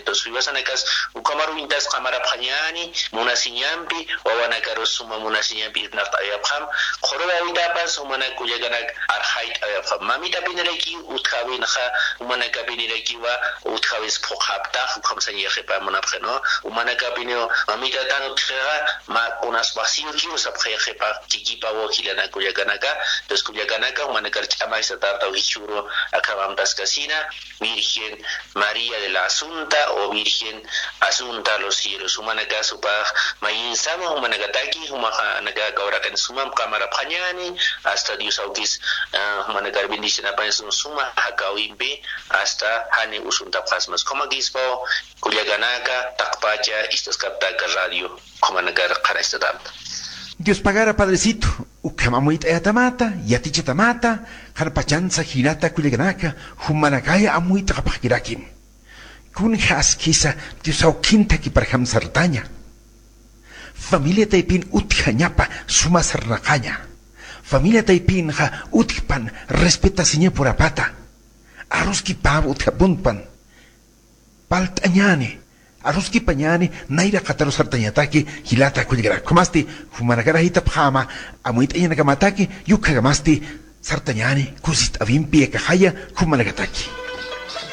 Entonces uywasanakas ukamaruintas qamarapqañani munasiñanpi wawanakaru suma munasiñanpi naqt'ayapqam qhurwawitapas umanakullakanak arjayt ayapqam mamita piniraki utjawinqa umanaka pinirakiwa utjawis phuqaptaq ukhamsañiqipa munapqi no umanaka pinio mamita tanu tjiqa ma kunas vacío kiusapqiqipa chikipa wakilanakullakanaka entonces kullakanaka umanakar ch'amaysa tarta ujichuro acabamtaskasina Virgen María de la Asunta o Virgen Asunta a los cielos. Umanaka supaj mayinsama umanakataki umajanaka kawraqin sumam qamarapqañani hasta Dios aukis umanakar bendicionapan suma hakawimpi hasta hani usuntapqasmas kumakispa kullakanaka taqpacha istaskaptaka radio kumanakar qarastatamta. Dios pagara padrecito, ukamamuita yatamata, yatichatamata, harpachanza girata kullakanaka, humanakaya amuita kapakirakim. Kun haskisa Dios aukinta kiparham sartaña. Familia taipin utjañapa suma sarnaqaña. Familia taipin ja utjpan respeta siña purapata. Arruski pav utjapunpan. Paltañani. Arruski pañani naira qataru sartañataki hilata kullgarakumasti humanakara pjama amuita ñanakamataki yukhagamasti sartañani kusit avimpi ekajaya humanakataki.